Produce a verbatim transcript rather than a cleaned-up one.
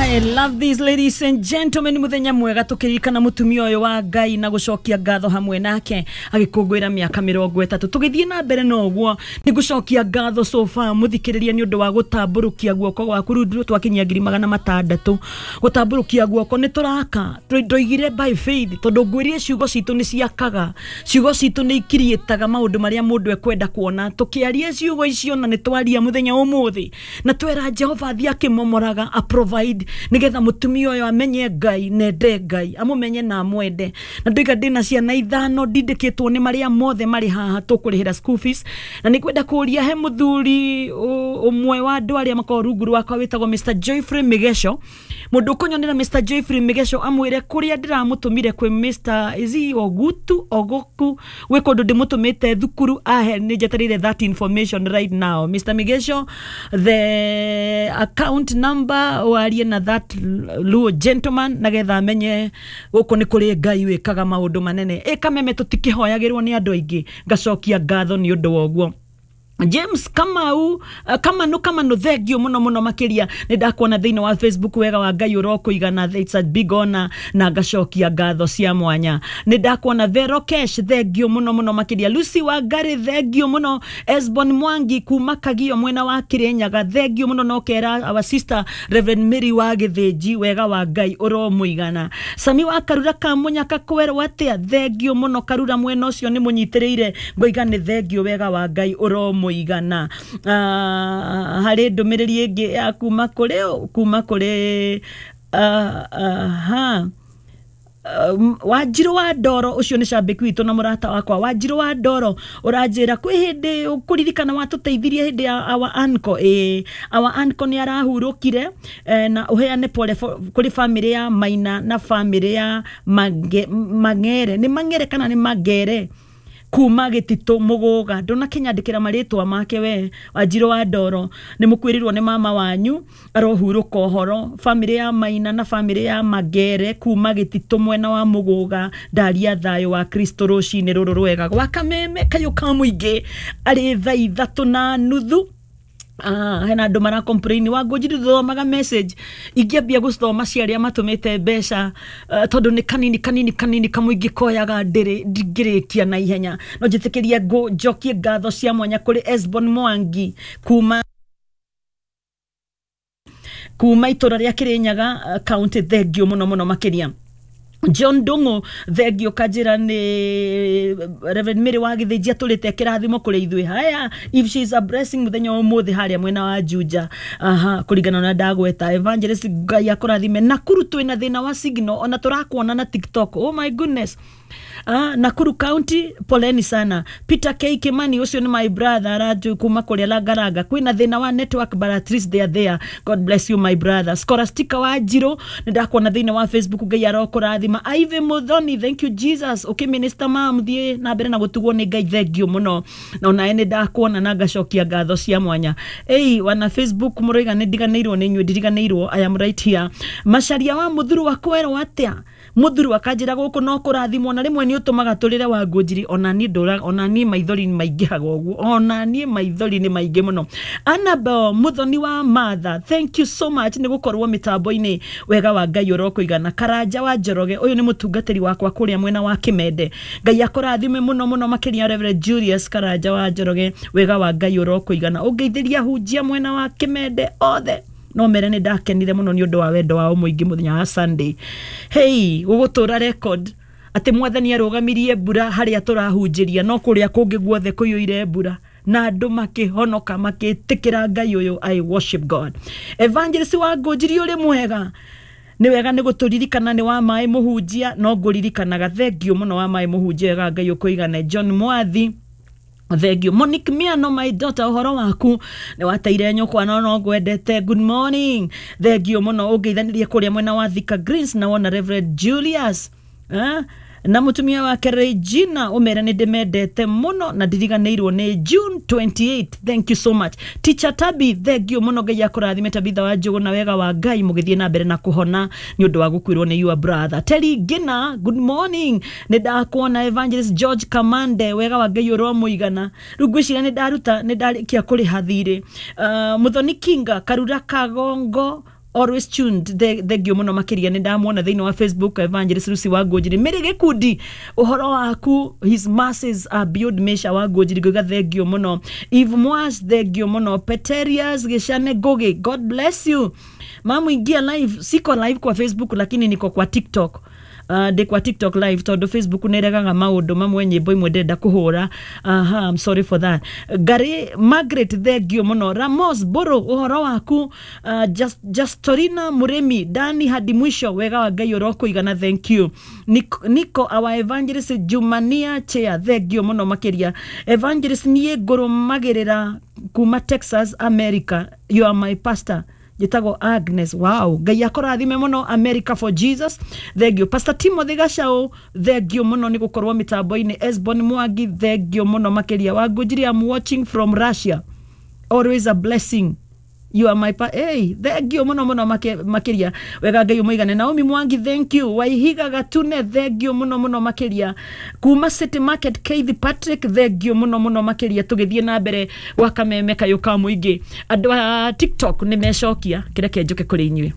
I love these, ladies and gentlemen. Muthenya mwega tukiririkana mutumia uyu wa Ngai na gucokia ngatho hamwe nake agikungwira miaka mirongo itatu. Tugithie na mbere na uguo ni gucokia ngatho so far muthikiriria ni undu wa gutamburukia guoko gwaku. Riu twakinyia ngiri magana matandatu gutamburukia guoko ni turaka ndoigire by faith tondu ngwirie ciugo citu ni ciakaga, ciugo citu ni ikirietaga maundu maria mundu ekwenda kuona. Tukiaria ciugo icio na ni twaria muthenya umuthi na twera Jehova athie akimomoraga a provide nigetha mutumia uyu amenye Ngai nende Ngai amumenye na amwende. Na ndoiga ndina ciana ithano ndindikitwo ni maria mothe mari haha tukurihira school fees, na nikwenda kuria he muthuri umwe wa andu aria makoragwo rungu rwakwa witagwo Mister Joyfrey Migesho. Mundu ukunyonera Mister Joyfrey Migesho amwire kuria ndiramutumire kwi Mister Izi Ogutu Ogoku gwi kundu ndimutumite thukuru ahe ni njetereire that information right now. Mister Migesho, the account number warie na that Luo gentleman nagetha amenye guku ni kuri Ngai wikaga maundu manene. E kameme tutikihoyagirwo ni andu aingi, ngacokia ngatho ni undu wa uguo. James Kamau, Kamanu Kamanu, thengio muno muno makiria ni ndakuona thiini wa Facebook. Wega wa Ngai urokuigana, it's a big honor na ngacokia ngatho cia mwanya. Ni ndakuona Vero Cash, thengio muno muno makiria. Lucy Wangari, thengio muno. Esbon Mwangi kuma Kagio mwena wa Kirinyaga, thengio muno. No kera our sister Reverend Mary wa Githinji, wega wa Ngai uromuigana. Sami wa Karura Kamunyaka kwerwo atia, thengio muno Karura mwena ucio ni munyitiriire ngoiga ni thengio, wega wa Ngai uromuigana. Igana uh, hari ndumiriri ingi ya kuma kuri kuma kuri uh, uh, ha Um, Wanjiru wa Ndoro ucio ni cambiki witu na murata wakwa. Wanjiru wa Ndoro uranjira kwi hindi ukuririkana watuteithirie hindi ya our uncle. Eh, our uncle ni arahurukire eh, na uheane pole kuri family ya Maina na family ya Mange, Mangere ni Mangere kana ni Mangere kuma Gitito Muguga. Ndunakinyandikira maritwa make we Wanjiru wa Ndoro ni mukwirirwo ni mama wanyu arohuruka uhoro. Family ya Maina na family ya Magere kuma Gitito mwena wa Muguga, ndaria thayo wa Kristo rucini ruru rwega gwa kameme kayo ka muingi ari thaa ithatu na nuthu. Ah, hena andu mara complain wa ngũnjiri thomaga message ingĩambia gũthoma cia arĩa matũmĩte mbeca uh, tondu nĩ kanini kanini kanini kamũingĩ koyaga ndĩrĩ ndingĩrĩkia na ihenya. No njĩtĩkĩrie ngũ njokie ngatho cia mwanya kũrĩ Esbon Mwangi kuma kuma itũra rĩa Kirinyaga uh, county, thengio mũno mũno makĩria. John Dungu, thengio kanjira ni Reverend Mary wa Githinji atũrĩte kĩrathimo kũrĩ ithuĩ. Haya, if she is a blessing muthenya wa ũmũthĩ harĩa mwena wa Juja, aha, kũringana na ndagweta Evangelist Ngai akũrathime. Nakuru twĩna thĩna wa signal ona tũrakuona na TikTok, oh my goodness. Ah, Nakuru County poleni sana. Peter K Kimani ucio ni my brother araju kuma kuria Langalanga kwina thina wa network but at least they are there. God bless you my brother. Scholastica wa Njiro ni ndakuona thina wa Facebook, Ngai arokurathima. Ive Muthoni, thank you Jesus. Okay minister mam thie na mbere na gutugwo ni Ngai, thank you muno. Na ona ni ndakuona na ngacokia ngatho cia mwanya. Ei wana Facebook muroiga ni ndiganĩirwo ni inyuĩ, ndiriganĩirwo, I am right here. Macaria wa Muthuru wa kwerwo atia, Muthuru akanjira guku no kurathimwo na rimwe ni utumaga turire wa ngũnjiri. Ona ni ndura, ona ni maithori ni maingĩhaga ũguo, ona ni maithori ni maingĩ mũno. Annabel Muthoni wa Martha, thank you so much ni gukorwo mitambo-inĩ, wega wa Ngai ũrokuigana. Karanja wa Njoroge, ũyũ nĩ mũtungatĩri wakwa kũrĩa mwena wa Kimende, Ngai akũrathime mũno mũno makĩria. Reverend Julius Karanja wa Njoroge, wega wa Ngai ũrokuigana. Ũngeithĩria hunjia mwena wa Kimende othe no mere nĩ ndakenire mũno nĩ ũndũ wa wendo wao mũingĩ mũthenya wa Sunday. Hey, gũgũtũra record atĩ mwathani arũgamirie mbura harĩa tũrahunjĩria no kũrĩa kũngĩ guothe kũiyũire mbura na andũ makĩhonoka makĩtĩkĩra Ngai ũyũ. I worship God. Evangelist wa Ngũnjiri ũrĩ mwega, nĩ wega nĩ gũtũririkana nĩ wa maĩ mũhunjia no ngũririkanaga, thengio mũno wa maĩ mũhunjia, wega Ngai ũkũigane. John Mwathi, thengio. Monique Miano, my daughter, ũhoro waku nĩ wateire nyũkwa no no ngwendete, good morning, thengio mũno. Ũngeithanirie kũrĩa mwena wa Thika Greens na wona Reverend Julius eh? na mutumia wake Regina, umere ni ndimendete muno na ndiriganĩirwo nĩ June twenty-eighth, thank you so much. Teacher Tabi, thank you muno, Ngai akũrathime. Tabitha wa Njũgũ na wega wa Ngai mũgĩthiĩ na mbere na kũhona nĩ ũndũ wa gũkuĩrwo nĩ your brother. Terry Gina, good morning, nĩ ndakuona. Evangelist George Kamande, wega wa Ngai ũromũigana. Rĩu ngwĩciria nĩ ndaruta nĩ ndarĩkia kũrĩha thirĩ. Uh, Muthoni Kinga Karura Kagongo Always tuned. Thengio muno makiria. Nĩ ndamuona thĩinĩ wa Facebook, Evangelist Lucy wa Ngũnjiri. Mĩrĩ gĩkundi, ũhoro waku, his mercies are beyond measure. Wa Ngũnjiri, ngauga thengio mũno. Eve Mwas, thengio mũno. Peterius Gĩcane Ngũgĩ, God bless you. Mamu, ingia live. Siko live kwa Facebook, lakini niko kwa TikTok. uh, ndĩ kwa TikTok live tondũ Facebook nĩ ĩregaga maũndũ mamwe, nyĩmbo imwe ndĩrenda kũhũra. Aha, I'm sorry for that. Gary Margaret, thengio mũno. Ramos Boro, ũhoro waku. uh, Just, Justorina Mũrĩmi, Dani hadi mwisho, wega wa Ngai ũrokũigana, thank you. Nico, Nico our evangelist Jumania Chair, thengio mũno makĩria. Evangelist, niĩ ngũrũmagĩrĩra kuma Texas, America. You are my pastor. Njĩtagwo Agnes. Wow, Ngai akũrathime mũno. America for Jesus, thengio. Pastor Timothy Gacau, thengio mũno nĩ gũkorwo mĩtambo-inĩ. Esbon Mwangi, thengio mũno makĩria. Wangũnjiri, I'm watching from Russia, always a blessing. You are my pa hey, thengio muno muno makiria. Wega Ngai umuigane. Naomi Mwangi, thank you. Waihiga Gatune, thengio muno muno makiria. Kuma City Market, Keith Patrick, thengio muno muno makiria. Tugithie na mbere gwa kameme kayo ka muingi, andu a TikTok ni mecokia kireke njuke kuri inyuĩ.